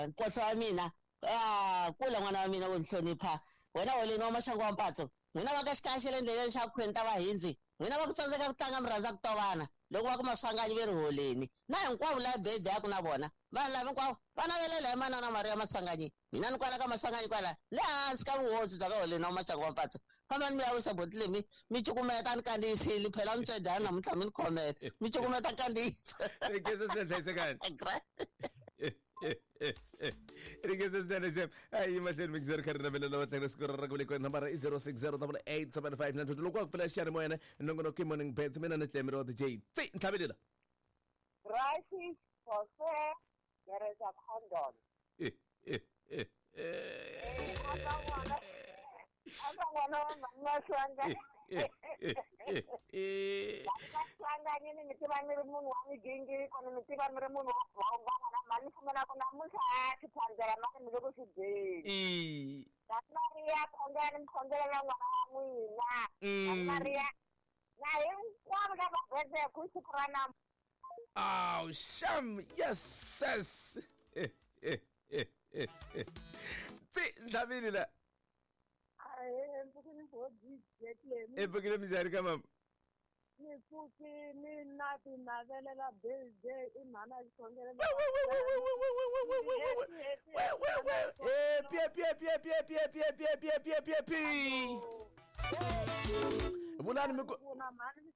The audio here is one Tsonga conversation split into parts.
Nkosi wa mina a kula n'wana wa mina wo ni hlonipha wena holeni wa maxangu wa mpatso n'wina va ka xikaya xa le ndleleni xa khweni ta vahindzi n'wina va ku tsandzeka ku tlanga mi rhandza ku tovana loko va ku maswanganyi ve ri holeni na hinkwavo la bede ya ku na vona vanhu lava hinkwavo va navelela hi manana Mariya Maswanganyi mina ni kwala ka Maswanganyi kwala le hansi ka vuhosi bya ka holeni wa maxangu wa mpatso fambani mi ya wisa boti leyi mi cukumeta ni kandziyisile phela ni tswedyana namuntlha mi ni khomela mi cukumeta kandziyisa Ringesa swinene hlayisekani. Ringesa swinene xem. A yi mahlweni mikizeri kha ri navelela va tlhela siku ra ku velekiwa nambara i 06088759 loko wa ku pfula xiyanimoya ne nongonoko i morning bets mina ni tlemiri wa DJ Tsi ntlhavelela. Crisis for fair, there is a condom. Aka n'wana wa mhani Maswanganyi. Maswanganyi ni mi tiva mi ri munhu wa migingiriko ni mi tiva mi ri munhu wo bonga n'wana mhani ni pfumela ku namuntlha a xiphandzela mani mi le ku xi dyeni. Mhani Mariya khongela ni mi khongelela n'wana wa n'wina. Mhani Mariya na hinkwavo lava birthday hi siku ra namuntlha. Aw, sham, yes, sis. Tsi, ntlhavini la. Ahee, mpfukini bo DJ Clemi. Epfukile minjhani ka mama? Ni pfukini na ti navelela birthday i mhana xikhongelo. Eh, pie pie pie pie pie pie pie pie pie pie pie. Vulani mi ku Kuna mhani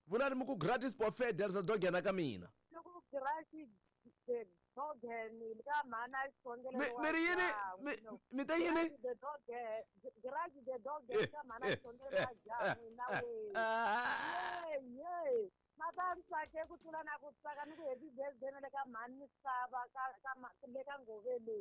Vulani mi ku gratis buffet derisa dogena ka mina. ni ku gratis the dogen ka mhana xikhongelo. Mi ri yini? Mi te yini? The dogen, gratis the dogen ka mhana xikhongelo wa ja n'wina we. Ye, ma ta ni tsake ku tlula na ku tsaka ni ku happy birthday na le ka mhani misava ka ka le ka Ngovele.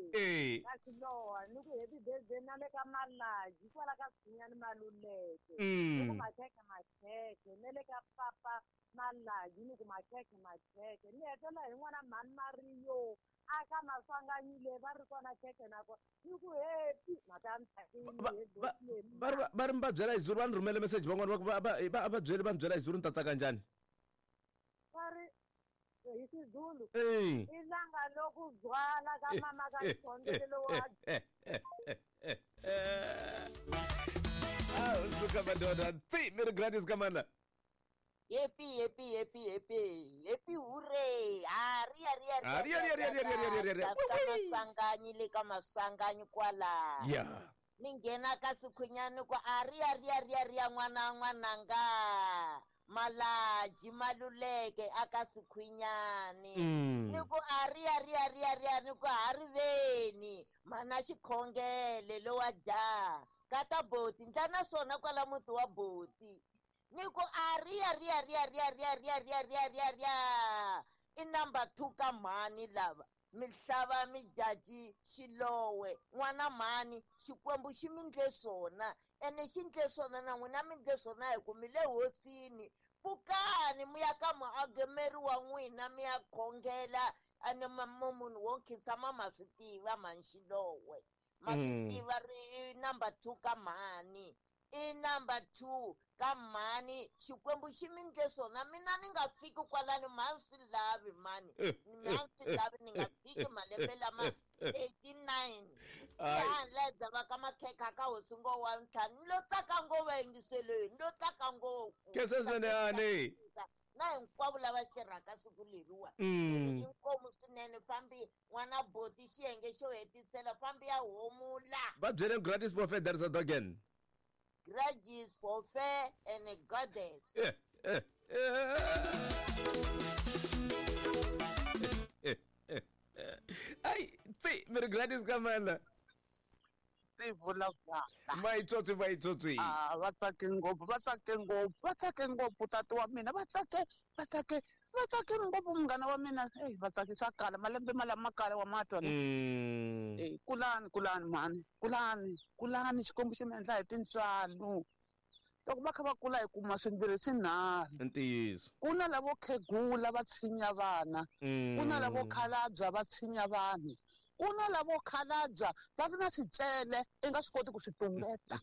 Ka Xilowa ni ku happy birthday na le ka Malaji kwala ka Sinyani Maluleke. Ni ku makhekhe makhekhe na le ka papa Malaji ni ku makhekhe makhekhe ni hetela hi n'wana mhani Mariyo a ka Maswanganyi le va ri kona khekhe na kona ni ku happy mhaka ni tsakile Va ri va ri mi va byela hi Zulu va ni rhumele message van'wana va ku va va va byeli va ni byela hi Zulu ni ta tsaka njhani? Va ri hi Xizulu i langa loku byala ka mama ka xikhongelo wa Ah, suka madoda. Tsi, mi ri gratis ka mana. Happy happy happy happy happy hooray. Ah, ria ria Ah, ria, ria, ria, ria, ria, ria, ria, ria. Ka Maswanganyi le ka Maswanganyi kwala. Yeah. Ni nghena ka Sikhunyani ku a ria ria ria ria n'wana n'wananga. Malaji Maluleke aka Sikhunyani. Ni ku a ria ria ria ria ni ku ha riveni mana xikhongele lowa jaha kata boti ndla na swona kwala muti wa boti ni ku a ria ria ria ria ria ria ria ria ria ria i number 2 ka mhani lava mihlava mijaji Xilowe n'wana mhani Xikwembu xi mi ndle swona ene xi ndle swona na n'wina mi ndle swona hi ku mi le hosini pfukani mi ya ka muagemeri wa n'wina mi ya khongela ene munhu wo nkhinsama ma swi tiva mhani Xilowe ma swi tiva ri number 2 ka mhani i number 2 ka mhani Xikwembu xi mi ndle swona mina ni nga fiki kwalani mhani swi lavi mani mhani swi lavi ni nga fiki malembe lama 89 ihandla dzava ka makhekha ka hosi ngo wa ntlhanu ni lo tsaka ngopfu yingiselweni ni lo tsaka ngopfu Khensa swinene yani. Na hinkwavo lava xirhaka siku leriwa inkomu swinene fambi n'wana boti xiyenge xo hetisela fambi ya homula Va byele gratis buffet derisa dogen. Grudges for fair and a goddess. Ai, tsi, mi ri gratis ka mana. Ti vula Maitsotsi maitsotsi. Ah, va tsake ngopfu, va tsake ngopfu, va tsake ngopfu tati wa mina, va tsake, va tsake, va tsake ngopfu munghana wa mina. Hey, va tsake swa kala, malembe malama kala wa matwa ne. Eh, kulani, kulani mhani, kulani, kulani Xikwembu xi mi endla hi tintswalo. Loko va kha va kula hi kuma swimbirhi swinharhu. Ntiyiso. Ku na lavo khegula va tshinya vana. Ku na lavo khalabya va tshinya vanhu. Ku na lavo khalabya va ri na swicele i nga swi koti ku swi tumbeta.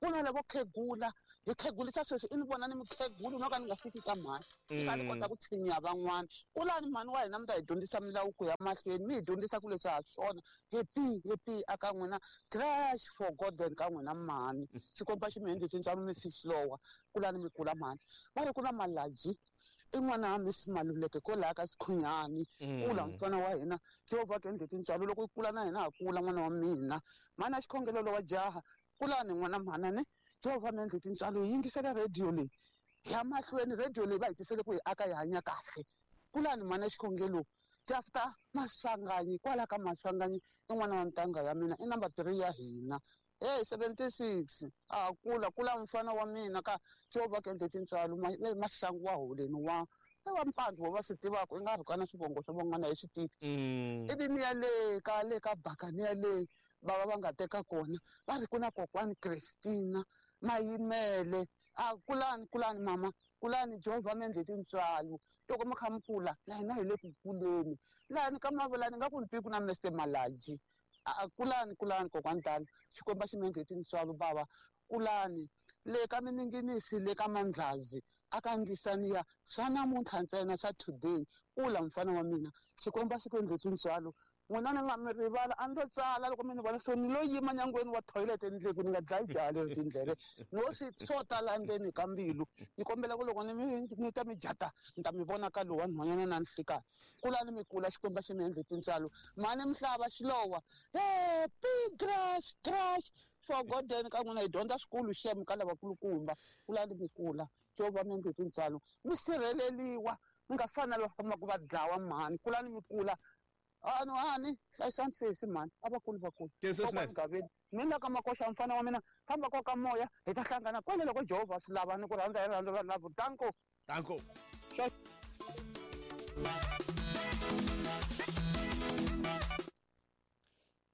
Ku na lavo khegula hi khegulisa sweswi i ni vona ni mukhegulu no ka ni nga fiki ka mhani ni ka ni kota ku tshinya van'wana. Kulani mhani wa hina mi ta hi dyondzisa milawuko ya mahlweni, mi hi dyondzisa ku leswi ha swona. Happy happy aka n'wina crash for Gordon ka n'wina mhani. Xikwembu a xi mi endli tintswalo mi sislowa. Kulani mi kula mhani. Va ri ku na Malaji i n'wana wa Miss Maluleke kwalaha ka Sikhunyani. Kula mfana wa hina Jehovha ku endle tintswalo loko i kula na hina ha kula n'wana wa mina. Mhani a xikhongelo lowa jaha kulani n'wana mhana ne Jehovha mi endle tintswalo hi yingisela radio leyi ya mahlweni radio leyi va hi tisele ku hi aka hi hanya kahle. Kulani mhani a xikhongelo Jafta Maswanganyi kwala ka Maswanganyi i n'wana wa ntanga ya mina i number 3 ya hina. Hey 76 a kula kula mfana wa mina ka Jehovha ku endle tintswalo maxangu wa holeni wa wa mpandzu va swi tivaka i nga rhukana swivongo swa van'wana hi swi tivi. Ivi ni ya le ka le ka Bakani ya le bava va nga teka kona va ri ku na kokwani Christina Mayimele a kulani kulani mama kulani Jehovha mi endle tintswalo loko mi kha mi kula na hina hi le ku kuleni lani ka Mavalani nga ku ni twi ku na Mr Malaji a kulani kulani kokwani tala Xikwembu a xi mi endle tintswalo bava kulani le ka mininginisi le ka Mandlazi aka ndlisaniya swa namuntlha ntsena swa today kula mfana wa mina Xikwembu a xi ku endle tintswalo n'wina ni nga mi rivala a ni lo tsala loko mi ni vona so ni lo yima nyangweni wa toilet endleni ku ni nga dlayi jaha leri tindleve no swi swo tala ndzeni ka mbilu ni kombela ku loko ni ta mi jata ni ta mi vona ka lowa nhwanyana na nhlikani kulani mi kula Xikwembu xi mi endle tintswalo mhani Mhlava Xilowa happy crash crash for Gordon ka n'wina hi dyondza swikulu xem ka lavakulukumba kulani mi kula Jehovha mi endle tintswalo mi sirheleliwa mi nga fani na lava fambaka va dlawa mhani kulani mi kula ani hlayisani sesi mhani a vakulu vakulu Gaveni mina ka Makoxa mfana wa mina famba kwa ka moya hi ta hlangana kwale loko Jehovha swi lava ni ku rhandza hi rhandza lavo danko danko.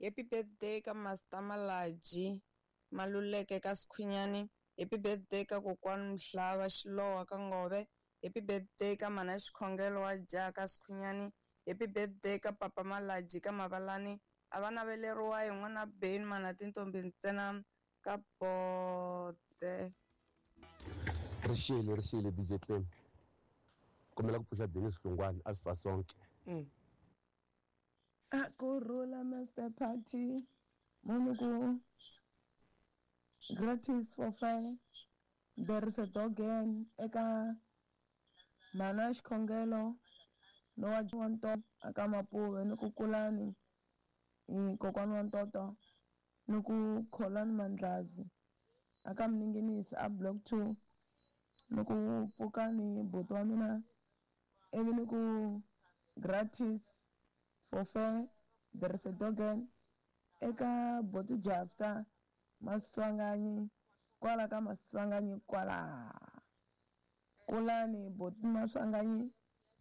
Happy birthday ka Master Malaji Maluleke ka Sikhunyani. Happy birthday ka kokwani Mhlava Xilowa ka Ngove. Happy birthday ka mana Xikhongelo wa jaha ka Sikhunyani. Happy birthday ka papa Malaji ka Mavalani. A va naveleriwa hi n'wana Ben mana tintombi ntsena ka bote. Rixile DJ Clem. Kombela ku pfuxa Dennis Hlungwani a sifa sonke. A ku rhula Master Party. Munhu ku gratis for fair. There is a dog again eka mana Xikhongelo no wa ntoto aka Mapuve ni ku kulani hi kokwani wa ntoto ni ku Kholani Mandlazi aka Mninginisi a block 2 ni ku pfukani buti wa mina ivi ni ku gratis for fair there is a dog again eka boti Jafta Maswanganyi kwala ka Maswanganyi kwala kulani boti Maswanganyi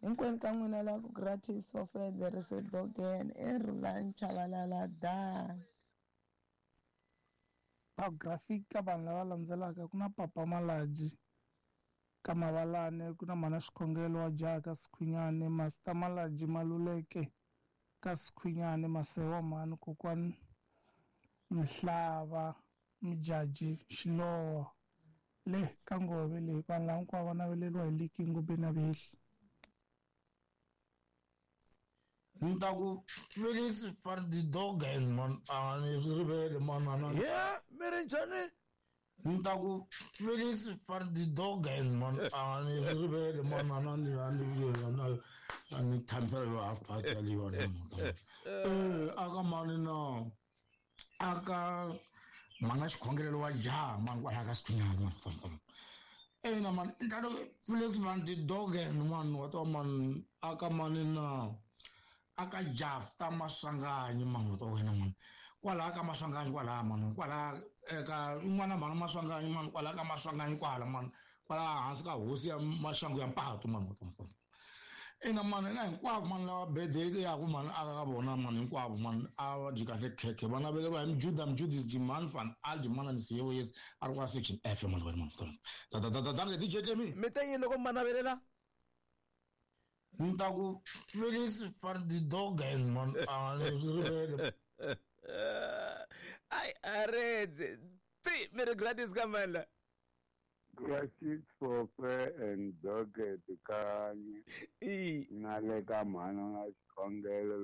hinkwenu ka n'wina la ku gratis for fair there is a dog again e Rhulani Chabalala da. Biography ka vanhu lava landzelaka ku na papa Malaji ka Mavalani, ku na mana Xikhongelo wa jaha ka Sikhunyani, Master Malaji Maluleke ka Sikhunyani, Masewa mhani kokwani Mhlava Mjaji Xilowa le ka Ngove le vanhu lava hinkwavo va naveleriwa hi Liki Ngubeni na Vehli. Ni ta ku Felix van die Dogen man a ni swi rivele manana. Yeah, mi ri njhani? Ni ta ku Felix van die Dogen man a ni swi rivele manana ni a ni tshamisela yo half past ya le yona. Aka mani na aka mana Xikhongelo wa jaha man kwala ka Sikhunyani man. Ina man ni ta ku Felix van die Dogen man wa to man aka mani na aka Jafta Maswanganyi man wa to wena man kwala ka Maswanganyi kwala man kwala eka un'wana mhani Maswanganyi man kwala ka Maswanganyi kwala man kwala hansi ka hosi ya Maxangu ya Mpato man wa to ina man na hinkwavo man lava birthday ya ku man aka ka vona man hinkwavo man a va dyi kahle khekhe va naveleriwa hi Mjuda Mjudis Jiman van Aldi man ni yes a ri kwa section F man wena man ta ta ta ta DJ Clemi mi te yini loko ma navelela? Ni ta ku Felix van die Dogen man a ni swi rivele. Ai a redze Ti mi ri gratis ka mani la? Ya Xitshofe and Docket Kanye I na le ka mhana na xikhongelo.